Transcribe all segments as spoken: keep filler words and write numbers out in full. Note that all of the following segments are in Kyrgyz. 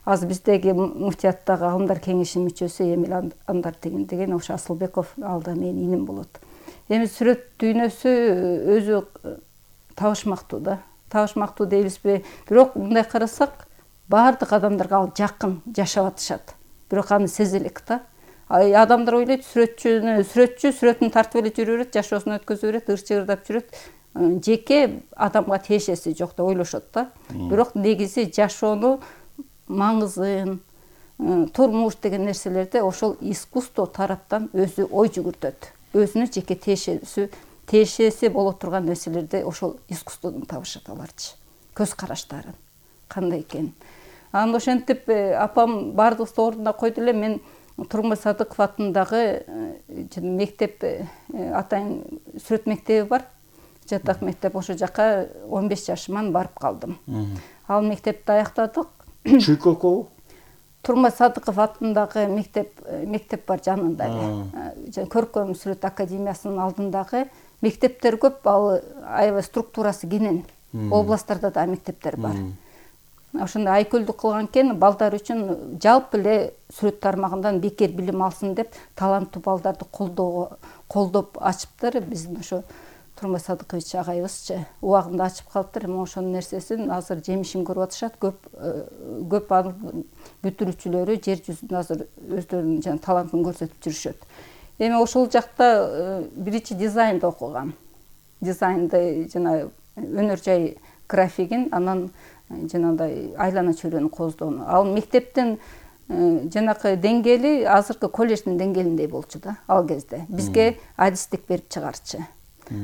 азыр биздеги муфтияттагы алымдар кеңешинин мүчөсү Эмил Андар деген ошо Асылбеков, ал да менин иним болот. Эми сүрөт дүйнөсү өзү табышмактуу да. Табышмактуу дейбизби? Бирок мындай карасак, баардык адамдарга ал жакын жашап атышат. Бирок аны сезе элек да. Адамдар ойлойт, сүрөтчүнү, сүрөтчү сүрөтүн тартып эле жүрө берет, жашоосун өткөзө берет, ырчыгырдап жүрөт. Жеке адамга тиешеси жок деп ойлошот да. Бирок негизи жашоону, маңызын, турмуш деген нерселерди ошол искусство тараптан өзү ой жүгүртөт. Өзүнүн жеке тиешеси, тиешеси боло турган нерселерди ошол искусстводон табышат аларчы. Көз караштарын кандай экен. Анда ошентип апам баардыгыбызды ордуна койду эле. Мен Тургунбай Садыков атындагы мектеп, атайын сүрөт мектеби бар. Жатак мектеп, ошол жака он беш жашыман барып калдым. Ал мектепти аяктадык. Чуйкокобу? Тургунбай Садыков атындагы мектеп, мектеп бар жанында эле. Көркөм сүрөт академиясынын алдындагы мектептер көп, ал аябай структурасы кенен. Областтарда да мектептер бар. Ошондой айкөлдүк кылган экен, балдар үчүн жалпы эле сүрөт тармагынан бекер билим алсын деп таланттуу балдарды колдоого, колдоп ачыптыр. Биздин ошо Тургунбай Садыкович агайыбызчы убагында ачып калыптыр. Эми ошонун нерсесин азыр жемишин көрүп атышат. Көп көп бүтүрүүчүлөрү жер жүзүндө азыр өздөрүнүн жана талантын көрсөтүп жүрүшөт. Эми ошол жакта биринчи дизайнды окугам. Дизайнды жана өнөр жай графигин, анан жанагындай айлана чөйрөнү кооздоону. Ал мектептин жанакы деңгээли азыркы колледждин деңгээлиндей болчу да ал кезде. Бизге адистик берип чыгарчы.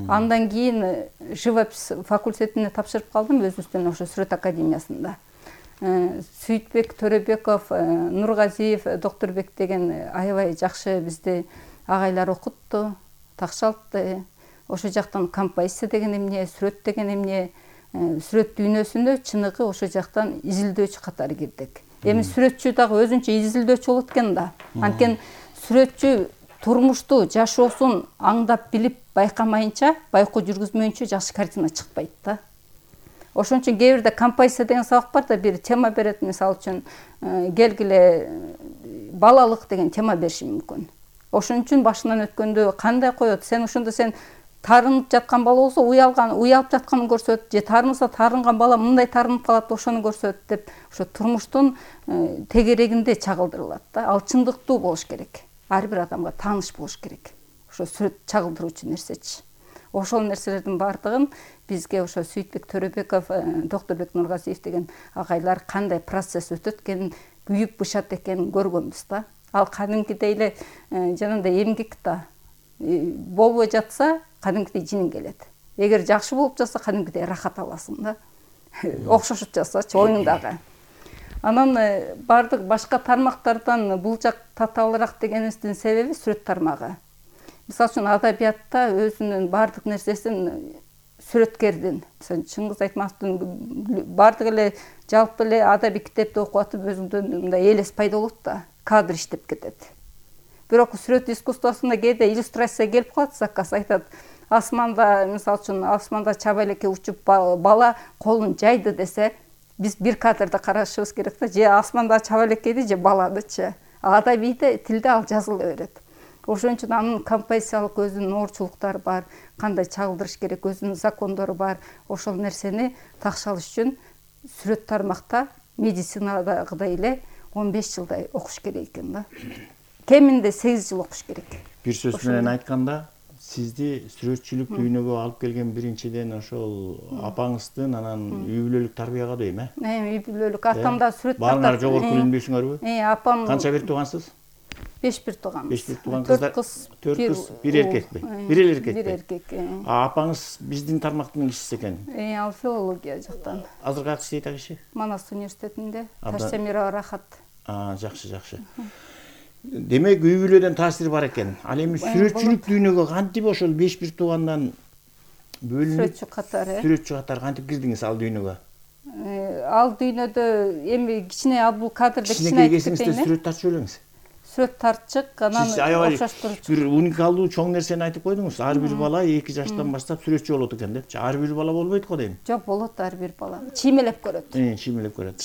Андан кийин живопись факультетине тапшырып калдым, өзүбүздүн ошо сүрөт академиясында. Сүйтбек Төрөбеков, Нургазиев, Доктурбек деген аябай жакшы бизди агайлар окутту, такшалтты. Ошол жактан композиция деген эмне, сүрөт деген эмне, сүрөт дүйнөсүнө чыныгы ошол жактан изилдөөчү катары кирдик. Эми сүрөтчү дагы өзүнчө изилдөөчү болот экен да. Анткени сүрөтчү турмушту, жашоосун аңдап билип байкамайынча, байкоо жүргүзмөйүнчө жакшы картина чыкпайт да. Ошон үчүн кээ бирде композиция деген сабак бар да, бир тема берет, мисалы үчүн келгиле балалык деген тема бериши мүмкүн. Ошон үчүн башынан өткөндө кандай коет, сен ошондо сен тарынып жаткан бала болсо уялган, уялып жатканын көрсөт, же тарынса тарынган бала мындай тарынып калат, ошону көрсөт деп, ошо турмуштун тегерегинде чагылдырылат да. Ал чындыктуу болуш керек. Ар бир адамга тааныш болуш керек. Ошо сүрөт чагылдыруучу нерсечи. Ошол нерселердин баардыгын бизге ошо Сүйтбек Төрөбеков, Доктурбек Нургазиев деген агайлар кандай процесс өтөт экенин, күйүп бышат экенин көргөнбүз да. Ал кадимкидей эле жанагындай эмгек да. Болбой жатса, кадимкидей жиниң келет. Эгер жакшы болуп жатса, кадимкидей рахат аласың да. Окшошуп жатсачы оюңдагы. Анан бардык башка тармактардан бул жак татаалыраак дегенибиздин себеби сүрөт тармагы. Мисалы үчүн адабиятта өзүнүн бардык нерсесин сүрөткердин, Чыңгыз Айтматовдун бардык эле жалпы эле адабий китепти окуп атып өзүңдөн мындай элес пайда болот да, кадр иштеп кетет. Бирок сүрөт искусствосунда кээде иллюстрация келип калат, заказ айтат. Асманда, мисалы үчүн, асманда чаба элекке учуп бала колун жайды десе, биз бир кадрда карашыбыз керек да, же асманда чаба элеккейди, же баладычы. Адабийде тилде ал жазыла берет. Ошон үчүн анын композициялык өзүнүн оорчулуктары бар, кандай чагылдырыш керек, өзүнүн закондору бар. Ошол нерсени такшалыш үчүн сүрөт тармакта медицинадагыдай эле он беш жылдай окуш керек экен да. Кеминде сегиз жыл окуш керек. Бир сөз менен айтканда, сизди сүрөтчүлүк дүйнөгө алып келген биринчиден ошол апаңыздын, анан үй бүлөлүк тарбияга дейм, э? Э, үй бүлөлүк. Атам да сүрөт тартат. Баарыңар жогорку билимдүүсүңөрбү? Э, апам. Канча бир туугансыз? Беш бир тууганбыз. Беш бир тууган кыздар. Төрт кыз, төрт кыз, бир эркекпи? Бир эле эркекпи? Бир эркек. Апаңыз биздин тармактын кишиси экен. Э, ал филология жактан. Азыр кайсы иштейт ал киши? Манас университетинде. Таштемирова Рахат. А, жакшы, жакшы. Демек, үй бүлөдөн таасир бар экен. Ал эми сүрөтчүлүк дүйнөгө кантип ошол беш бир туугандан бөлүнүп сүрөтчү катары, сүрөтчү катары кантип кирдиңиз ал дүйнөгө? Ал дүйнөдө эми кичине ал бул кадрда кичине айтып кетейин. Сүрөт тартып элеңиз. Сүрөт тартчык, анан окшоштурчу. Бир уникалдуу чоң нерсени айтып койдуңуз. Ар бир бала эки жаштан баштап сүрөтчү болот экен депчи. Ар бир бала болбойт го дейм. Жок, болот ар бир бала. Чиймелеп көрөт. Э, чиймелеп көрөт.